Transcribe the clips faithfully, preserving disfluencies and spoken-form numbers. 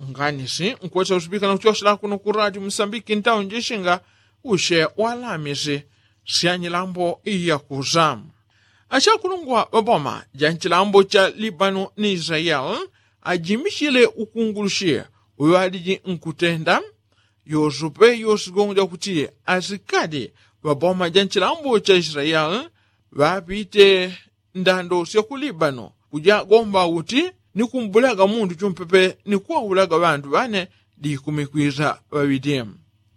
Nganisi nkwesa usipikana kuchosela kuno ku radio musambiki ntaunji shinga ushe walamisi syanyilambo iyakusa. Achakulungwa ŵaboma ja nchilambo cha libano ni israel ajimishile ukungulushi uŵaliji nkutenda. Yosupe yosigongo jakuti asikadi ŵaboma ja nchilambo cha israel ŵapite ndando sya ku libano kujagomba uti ni kumbulaga mundu chumpepe ni kuwaulaga ŵandu ŵane dikumikwisa ŵaŵiti.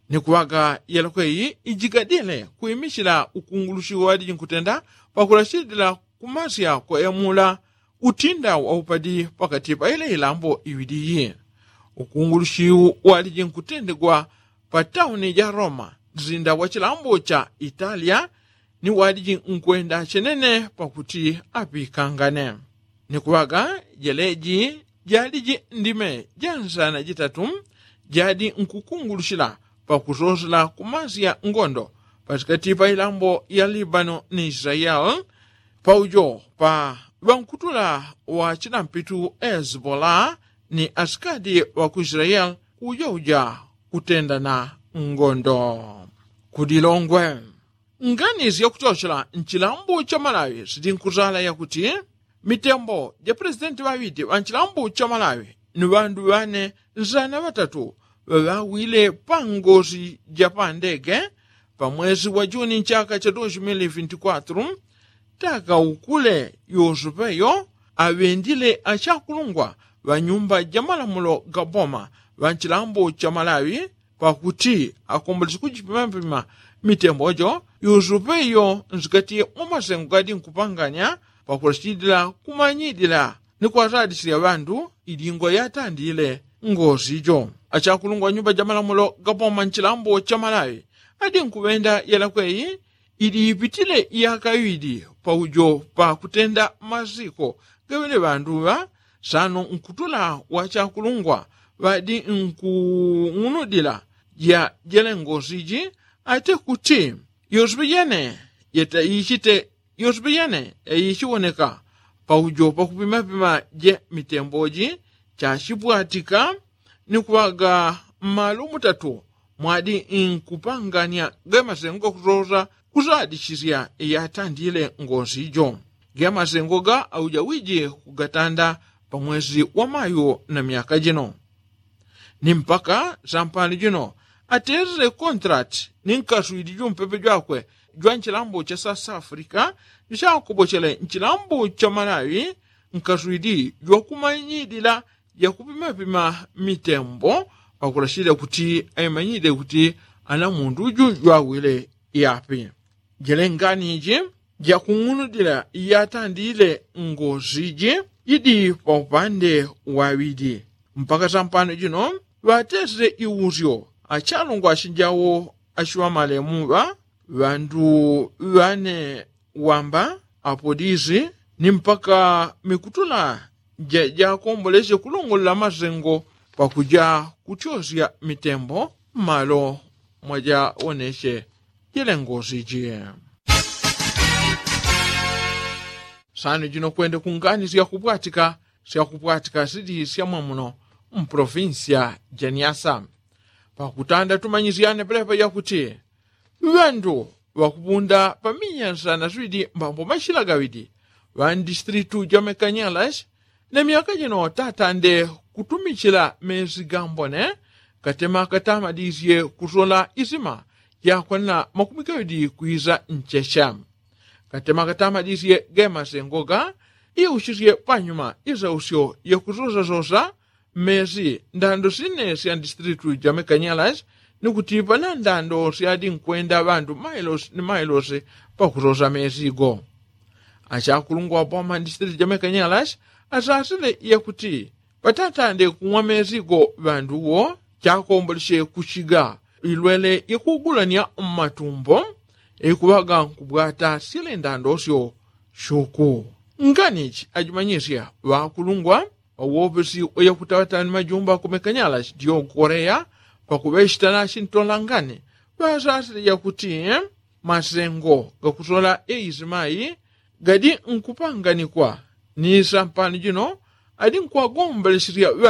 Ni kuŵaga yalakweyi ijigadile kwimishila ukungulushi wadiji nkutenda pakulashilila kumasya kwa emula utinda waupadi pakati pa ile ilambo iŵidi iyi. Ukungulushi wadiji nkutendegwa pa tauni ja roma nzinda wa chilambo cha italia ni wadiji nkwenda chenene pakuti apikangane. Ni kuŵaga jeleji jadiji ndime ja nsana jitatu jadi nkukungulushila pakusosela kumasya ngondo patikati pa ilambo ya libano ni israel paujo pa ŵankutula wa chilampitu hezbola ni asikadi ŵa ku israel ujauja kutendana ngondo. Kudilongwe nganizi yakuchochela nchilambo cha malawi sitinkuzala yakuti mitembo ja presidenti ŵaŵiti ŵa nchilambo cha malawi ni ŵandu ŵane nzana ŵatatu ŵaŵawile pa ngozi ja pa ndege pa mwezi wa juni nchaka cha dos mil vinti kwatru. Taka ukule yosupeyo aŵendile achakulungwa ŵa nyumba ja malamulo ga boma ŵa nchilambo cha malawi pakuti akomboleche kujipimapima mitembo jo yusupe iyo nsikati mwa masengo gadi nkupanganya pakulachidila kumanyidila ni kwatadisila ŵandu idingo yatandile ngosi jo. Achakulungwa nyumba ja malamulo gapoma nchilambo cha malawi adi nkuŵenda yalakweyi idi ipitile yaka iŵidi paujo pakutenda masiko gaŵele ŵandu ŵa sano nkutula wachakulungwa ŵadi nkung'unudila ja jelengosi ji ate kuti yosupe jene yeta ichite yosupe jene yaichiwoneka paujo pakupimapima je mitembo ji chachipwatika ni kuŵaga mmalo mutatu mwadi nkupanganya gamasengo gakusosa kusadichisya yatandile ngosi jo. Gamasengo ga auja wiji kugatanda pa mwezi wa mayu na myaka jino ni mpaka sampano jino atesele kontrati ni nkaswidi jumpepe jwakwe jwa nchilambo cha south africa ni chakobochele nchilambo cha malawi nkaswidi jwakumanyidila jakupimapima mitembo pakulachidila kuti aimanyidile kuti ana mundu uju jwawile yapi. Jelengani ji jakung'unudila yatandile ngosi ji jidi paupande waŵidi mpaka sampano jino ŵatesile iusyo achalungwa achinjawo achiŵamalemu ŵa ŵandu ŵane wamba apodisi ni mpaka mikutula jakomboleche kulongolola masengo pakuja kutyosya mitembo mmalo mwajawoneche jelengosi ji. Sano jino kwende kungani syakupwatika syakupwatika sili syamwamuno mpolofinsiya ja nyasa pakutanda tumanyisyane pelepa yakuti ŵandu ŵakupunda pamiya nsana swidi mbambo machila gaŵidi ŵa ndistilitu ja mekanyalas na myaka jino tatande kutumichila mesi gambone katema katamadisye kusola isima yakwanila makumi gaŵidi kwisa nchecha katema katamadisye gemasengo ga iuchisye panyuma isausyo yakusosasosa mmesi ndando sine sya ndistilitu ja mekanyalas ni kutipa na ndando syadi nkwenda ŵandu mailosi ni mailosi pakusosa mesi go. Achakulungwa boma ndistilitu ja mekanyalas asasile yakuti patatande kung'wa mesi go ŵandu wo chakomboleche kuchiga ilwele yakugulanya mmatumbo ikuŵaga nkubwata syele ndando syo shuku. Nganichi ajimanyisya ŵakulungwa ŵawopesi ŵayakutawatani majumba kumekanyala chitiyo koreya pakuŵechitana chintolangani ŵasasile yakuti masengo gakusola eisimayi gadi nkupanganikwa ni sampano jino adi nkuŵagomboleselya ŵandu.